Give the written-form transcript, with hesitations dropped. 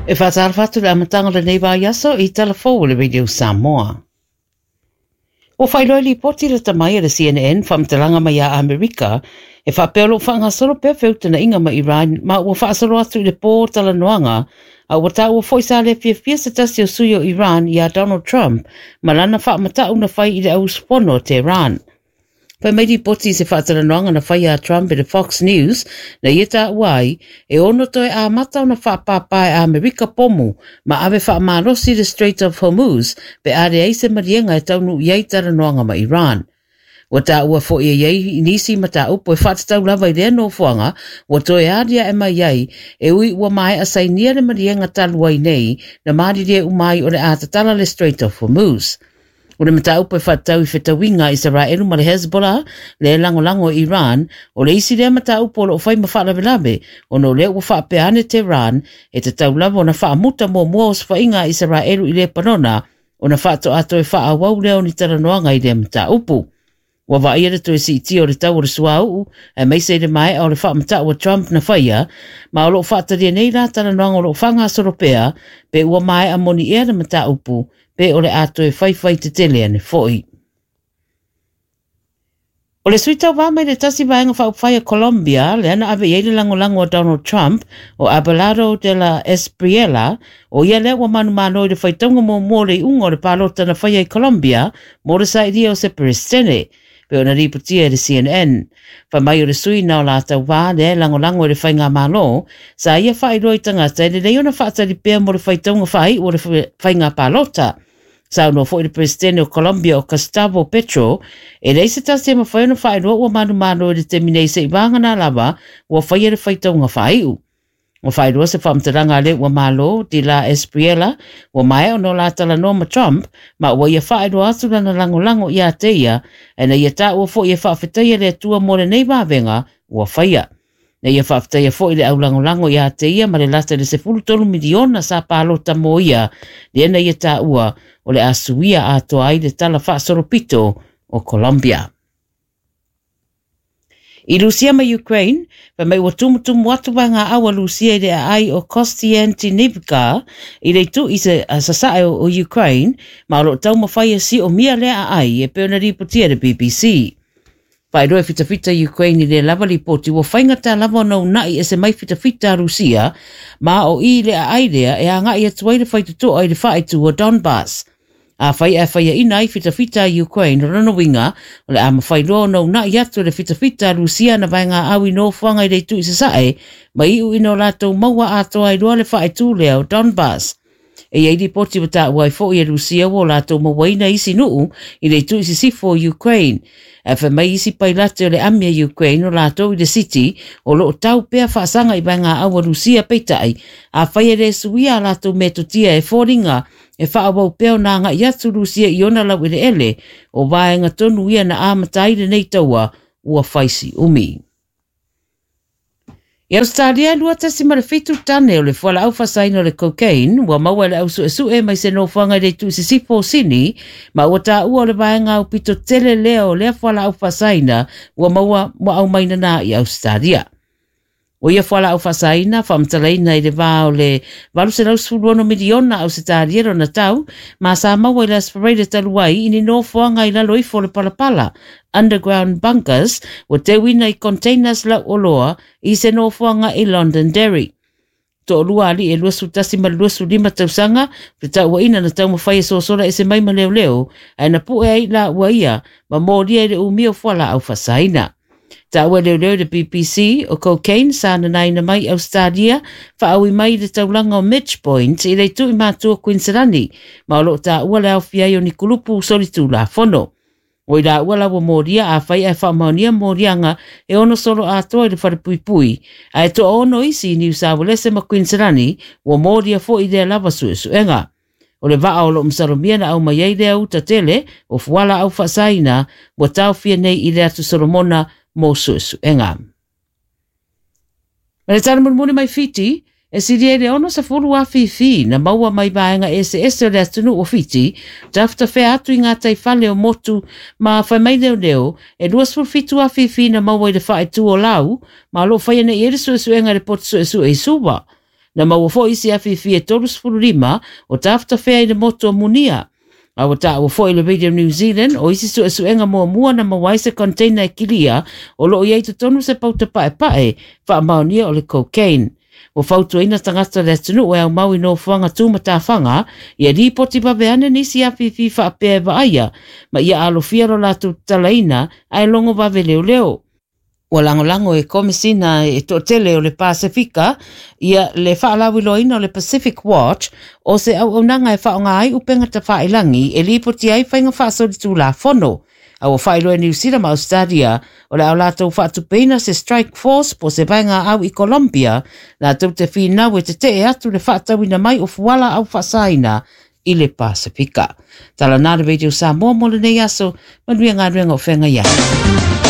E faatalofa atu le amataga o lenei vaiaso i tala fou o le Radio Samoa. Ua faailoa i lipoti lata mai a le CNN faamatalaga mai ia Amerika e faapea o lo o faagasolo pea feutagaiga ma Iran ma ua faasolo atu i le pō o talanoaga a ua taua foi sa le fiafia se tasi o sui o Iran iā Donald Trump ma lana faamata'u na fai i le auusufono a Tehran. Fai mai lipoti i se faatalanoaga na faia a Trump i le Fox News na ia taua ai e ono toe amata ona faapāpā e Amerika pomu ma ave faamalosi i le Strait of Hormuz pe a leai se maliega e taunuu i ai talanoaga ma Iran. Ua taua foi e i ai nisi mataupu e faatatau lava i lea nofoaga ua toe aliae mai ai e ui ua maea sainia le maliega talu ai nei na malilie uma ai o le a tatala le Strait of Hormuz. O le mataupu e faatatau i fetauiga a Isaraelu ma le Hezbollah, le lagolago i Iran, o le isi lea mataupu o lo o fai ma faalavelave, ona o lea ua faapea ane Tehran e tatau lava ona faamuta muamua osofaiga a Isaraelu i Lepanona ona faatoa toe faaauau lea o ni talanoaga i lea mataupu. Ua vaaia le toe siitia o le tau o le suauu, aemaise i le maea o le faamatau a Trump na faia, ma o lo o faatalia nei la talanoaga o lo o faagasolo pea, pe ua maea moni ea le mataupu, pe o le a toe faifai tetele ane foi. O le sui tauva mai le tasi vaega faaupufai a Colombia, lea na ave i ai le lagolago a Donald Trump, o Abelardo de la Espriella, o ia lea ua manumalo i le faitauga muamua o le iuga o le palota na faia i Colombia mo le sailia o se Peresetene, pei ona lipotia e le CNN. Fai mai o le sui na o la tauva lea e lagolago i le faigamalo, sa ia faailoa i tagata e lelei ona faatali pea mo le faitauga faaiu o le faiga palota. Saunoa foi le Peresetene o Colombia o Gustavo Petro, e leai se tasi e mafai ona faailoa ua manumalo i le taimi nei seiavagana lava ua faia le faitauga faaiu. Ua faailoa se faamatalaga a le ua malo, de la Espriella, ua maea ona o la talanoa ma Trump, ma ua ia faailoa atu lana lagolago iā te ia, ae na ia taua foi e faafetaia le Atua mo lenei vavega ua faia. Na ia faafetaia foi le aulagolago iā te ia ma le lata i le 13 miliona sa palota mo ia, lea na ia taua o le a suia atoa ai le tala faasolopito o Colombia. I Rusia ma Ukraine, fai mai ua tumutumu atu vaegaau a Rusia i le aai o Kostiantynivka i le itu i sasae o Ukraine, ma o lo o taumafai e siomia lea aai e pei ona lipotia e le BBC. Faailoa e fitafita Ukraine i lea lava lipoti ua faigata lava ona una'i ese mai fitafita a Rusia, ma o i le aai lea e agai atu ai le faitotoa i le faaitu o Donbas. Afai ae faiaina ai fitafita a Ukraine, o lona uiga, o le a mafai loa ona una'i atu e le fitafita a Rusia ana vaegaau i nofoaga i le itu i sasae, ma iu ina o latou maua atoa ai loa le faaitu lea o Donbas. E i ai lipoti ua taua ai foi e Rusia ua o latou mauaina isi nuu i le itu i sisifo o Ukraine. Ae fai mai isi pailate o le ami a Ukraine o latou i le siti o lo o tau pea faasaga i vaegaau a Rusia peitai, afai e le suia a latou metotia e foliga e faaauau pea ona agai atu Rusia i ona laueleele, o vaega tonu ia na amata ai lenei taua ua fai si umi. I Ausetalia, e 2.7 tane o le fualaau faasaina o le cocaine ua maua e le au suesue mai se nofoaga i le itu i sisifo o Sini, ma ua taua o le vaega aupito tele lea o lea fualaau faasaina ua maua ua aumaina na i Ausetalia. O ia fualaau faasaina, faamatalaina i le va o le 816 miliona Ausetalia lona tau, ma sa maua i le Aso Faraile talu ai i ni nofoaga i lalo ifo o le palapala, underground bunkers, ua teuina i containers lauoloa i se nofoaga i Londonderry. Toalua alii e 21 ma le 25 tausaga, fetauaiina na taumafai e sosola ese mai ma leoleo, ae na pue ai la ua ia ma molia i le umia o fualaau faasaina. Taua e leoleo i le BBC o cocaine sa nanaina mai i Ausetalia, faaui mai i le taulaga o Midge Point i le itu i matua o Kuiniselani, ma o lo o taua le aofia ai o ni kulupu solitulafono. O i laua la ua molia afai ae faamaonia moliaga e ono solo atoa i le falepuipui, ae toaono isi i Niu Sawelese ma Kuiniselani ua molia foi i lea lava suesuega. O le vaa o lo o masalomia na aumai ai lea uta tele o fualaau faasaina ua taofia nei i le Atu Solomona mo suesuega. Ma le tala mulimuli mai Fiti, e silia i le 60 afifi na maua mai vaega eseese o le atunuu o Fiti, tafetafea atu i ngā taifale o motu ma fai mai leoleo, e 27 afifi na maua i le faaitu o Lau, ma o lo o faia nei i ai le suesuega i le poto suesue i Suva. Na maua foi isi afifi e 35 o tafatafea i le motu o Munia. A ua taua foi le Radio New Zealand o isi suesuega muamua na maua ai se container e kilia o loo i ai totonu se pauta paepae faamaonia o le cocaine. Ua fautuaina tagata o le atunuu e aumau i nofoaga tumatafaga ia lipoti vave ane nisi afifi faapea e vaaia ma ia alofia lo latou tatalaina ae logo vave leoleo. Ua lagolago e Komesina e toatele o le Pasefika ia le faalauiloaina o le Pacific Watch o se auaunaga e faaaoga ai upega tafailagi e lipoti ai faiga faasolitulafono. A ua faailoa e Niu Sila ma Australia o le a latou faatupeina se Strike Force po se vaega au i Colombia latou te finau e tetee atu le faatauina mai o fuala au faasaina i le Pasefika. Tala na le Radio Samoa mo lenei aso, manuia galuega o feagai ai.